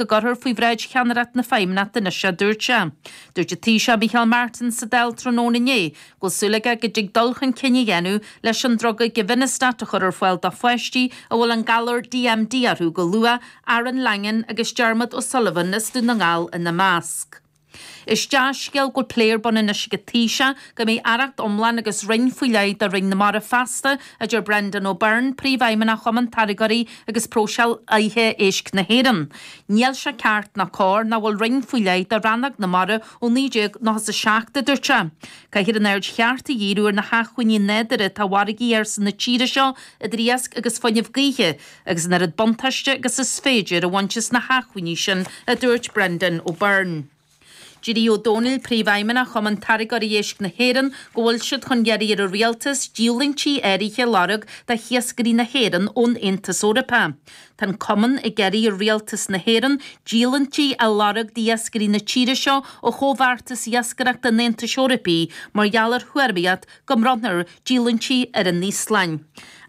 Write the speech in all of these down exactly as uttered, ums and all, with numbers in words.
go gcuirfear faoi bhráid cheannaireacht na Feidhmeannachta anois, a dúirt sé. Dúirt an Taoiseach Micheál Martin sa Dáil tráthnóna inné go bhfuil súil aige go dtig dul chun cinn a dhéanamh leis an druga Givinostat a chur ar fáil do pháistí a bhfuil an galar D M D orthu go luath, Aaron Langan agus Dermot O'Sullivan as Dún na nGall ina measc. Is dea-scéal go bhfuil plé ar bun anois ag an Taoiseach go mbeidh aireacht iomlán agus roinn faoi leith do Roinn na Mara feasta, a deir Brendan O'Byrne, Príomhfheidhmeannach Chumann Táirgeoirí agus Próiseálaithe Éisc na hÉireann. Níl sé ceart ná cóir nach bhfuil roinn faoi leith do rannóg na mara ó naoi déag nócha a seacht, a dúirt sé. Caithfear an aird cheart a dhíriú ar na hacmhainní nádúrtha atá i bhfarraigí ársa na tíre seo, idir iasc agus fuinneamh gaoithe, agus an oiread buntáiste agus is féidir a bhaint as na hacmhainní sin, a dúirt Brendan O'Byrne. Deir Ó Dónaill, Príomhfheidhmeannach Chumann Táirgeoirí Éisc na hÉireann, go bhfuil siad chun iarraidh ar an Rialtas díolúintí áirithe a lorg do hiascairí na hÉireann ón Aontas Eorpach. Tá an Cumann ag iarraidh ar Rialtas na hÉireann díolúintí a lorg d'iascairí na tíre seo ó chomhbheartas iascaireachta an Aontais Eorpaigh mar gheall ar thuairimíocht go mbronnfar díolúintí ar an Íoslainn.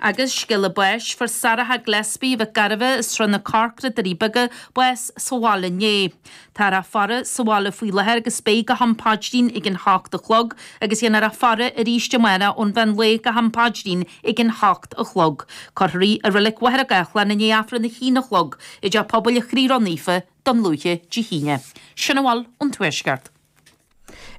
Agus scéala báis, fuair Sarah Gillespie Mhic Gairbheith as Srath na Corcra, Doirí Beaga, bás sa bhaile inné. Táthar á faire sa bhaile faoi láthair agus beidh go ham paidrín ag an hocht a chlog agus dhéanfar a faire arís amárach ón mheán lae go ham paidrín ag an hocht a chlog. Cuirfear í i Reilig Mhachaire Gathlán i ndiaidh Aifreann a haon a chlog i dTeach Pobail an Chroí Ró-Naofa, Dún Lúiche, Dé hAoine. Sin a bhfuil ón Tuaisceart.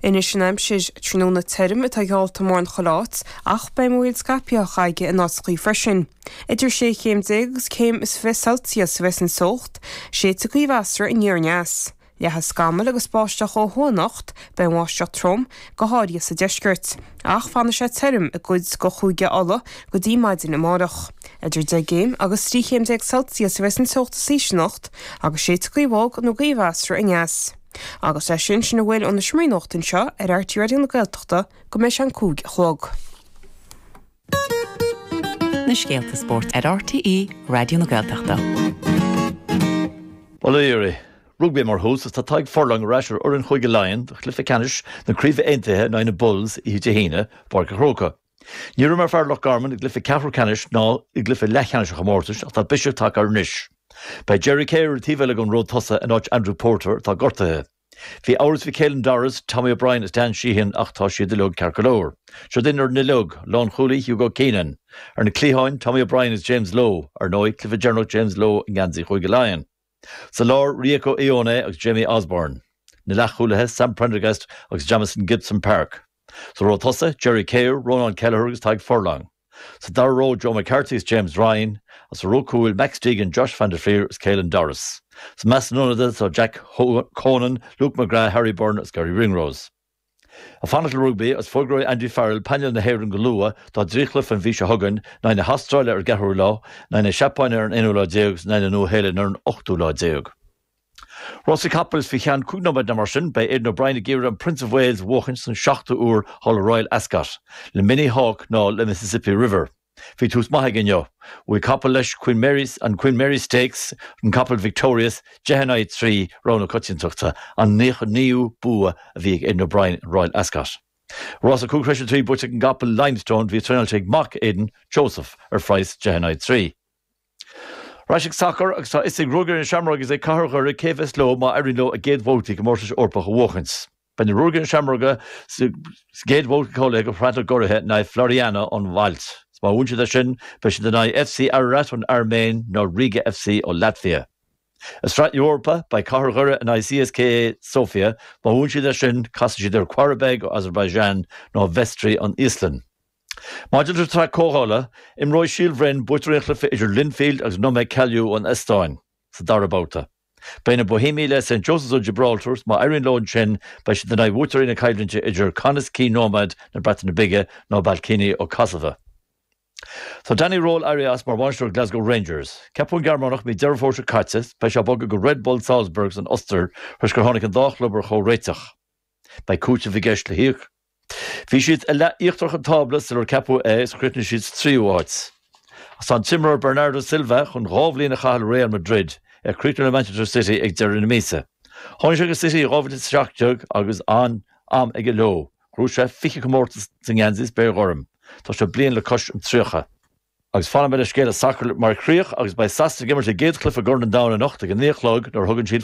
Anois an aimsir. Tráthnóna tirim atá geallta mórán chuile áit ach beidh múraíl scaipthe á chaige in áiteachaí freisin. Idir sé chéim déag agus céim is fiche Celsius a bheas an teocht, séidfidh gaoth mheasartha aniar aneas. Leathfaidh scamaill agus báisteach ó thuaidh anocht, beidh an bháisteach trom, go háirithe sa deisceart. Ach fanfaidh sé tirim i gcuid de Chúige Uladh go dtí maidin amárach. Idir deich gcéim agus trí chéim déag Celsius a bheas an teocht is ísle anocht agus séidfidh gaoth bhog nó gaoth mheasartha aneas. Agus leis sin, sin a bhfuil ó na seomraí nuachta anseo ar R T É Raidió na Gaeltachta go mbeidh sé an cúig a chlog. Na scéalta spóirt ar R T É Raidió na Gaeltachta. Bail ó Dhia oraibh. Rugbaí mar thús is tá Tadhg Furlong ar ais ar fhoireann Chúige Laighean do chluiche ceannais na Craoibhe Aontaithe in aghaidh na Bulls oíche Dé hAoine, Páirc an Chrócaigh. Ní raibh mar fear Loch Garman i gcluiche ceathrú ceannais ná i gcluiche leathcheannais an chomórtais ach tá biseach tagtha air anois. Beidh Gerry Carey ar an taobh eile den ró tosaigh in áit Andrew Porter atá gortaithe. Bhí amhras faoi Caelan Doris, Tommy O'Brien is Dan Sheehan ach tá siad uilig ceart go leor. Seo duine ar an uileag, lánchúlaí Hugo Keenan. Ar na cliatháin, Tommy O'Brien is James Lowe, ar ndóigh, cluiche deireanach James Lowe i ngeansaí Chúige Laighean. Sa lár, Rieko Ioane agus Jamie Osborne. Na leathchúlaithe, Sam Prendergast agus Jamison Gibson-Park. Sa ró tosaigh, Gerry Kerr, Ronan Kelleher agus Tadhg Furlong. Sa dara ró, Joe McCarthy is James Ryan, agus sa ró cúil, Max Deegan, Josh van der Flier is Caelan Doris. Sa measc na n-ionadaithe tá Jack Conan, Luke McGrath, Harry Byrne agus Garry Ringrose. Ag fanacht le rugbaí agus fógróidh Andy Farrell painéal na hÉireann go luath dá dtrí chluiche an mhí seo chugainn, in aghaidh na hAstráile ar an gceathrú lá, in aghaidh na Seapáine ar an aonú lá déag agus in aghaidh na Nua-Shéalainne ar an ochtú lá déag. Rásaí capall is faoi cheann cúig nóiméad nó mar sin, beidh Aidan O'Brien ag iarraidh an Prince of Wales a bhuachaint san seachtú huair thall i Royal Ascot, le Minnie Hauk ná le Mississippi River. Bhí tús maith aige inniu. Bhuaigh capall leis Queen Mary, an Queen Mary Stakes, an capall Victorious, deich in aghaidh trí, rogha na coitiantachta, an naocha naoú bua a bhí ag Aidan O'Brien in Royal Ascot. Rás a cúig tar éis a trí buaite ag an gcapall Limestone, bhí traenáilte ag mac Aidan, Joseph, ar phraghas deich in aghaidh trí. Ar ais ag sacar agus tá a fhios ag Ruagairí na Seamróige agus ag Cathair Dhoire cé a bheas leo má éiríonn leo a gcéad bhabhtaí comórtais Eorpach a bhuachaint. Beidh na Ruagairí na Seamróige sa gcéad bhabhta cáilithe do Shraith na gCuraithe in aghaidh Floriana ón Mhailt. Má bhuann siad é sin, beidh siad in aghaidh F C Ararat ón Airméin nó Riga F C ó Laitvia. I Sraith na hEorpa, beidh Cathair Dhoire in aghaidh C S K A Sofia. Má bhuann siad é sin, casfaidh siad ar Qarabag ó Azerbaijan nó Vestri ón Íoslainn. Maidir leis an tsraith comhdhála, imreoidh Síol Bhroin buaiteoirí an chluiche idir Linfield agus Nõmme Kalju ón Eastóin sa dara babhta. Beidh na Boihéamaigh le Saint Joseph's ó Gibraltar is má éiríonn leo ansin beidh siad in aghaidh bhuaiteoirí na coimhlinte idir Connah's Quay Nomads na Breataine Bige nó Ballkani ó Kosovo. Tá Danny Röhl éirithe as mar bhainisteoir Glasgow Rangers. Ceapadh an Gearmánach mí Deireadh Fómhair seo caite, beidh sé ag bogadh go Red Bull Salzburg san Ostair tar éis gur tháinig an dá chlub ar chomhréiteach. Beidh cúiteamh i gceist le híoc. Bhí siad i leath íochtarach an tábla sular ceapadh é is chríochnaigh siad sa tríú háit. Ach tá an t-imreoir Bernardo Silva chun dhá bhliain a chaitheamh le Real Madrid, é ag críochnú le Manchester City ag deireadh na míosa. Tháinig sé go City i dhá mhíle is a seacht déag agus an-am aige leo. Ghnóthaigh sé fiche comórtas sa ngeansaí spéir ghorm. Tá sé bliain le cois an tríocha. Agus fanfaimid le scéal sacair mar chríoch agus beidh Sasana ag imirt a gcéad chluiche i gCorn an Domhain anocht ag a naoi a chlog nuair a thugann siad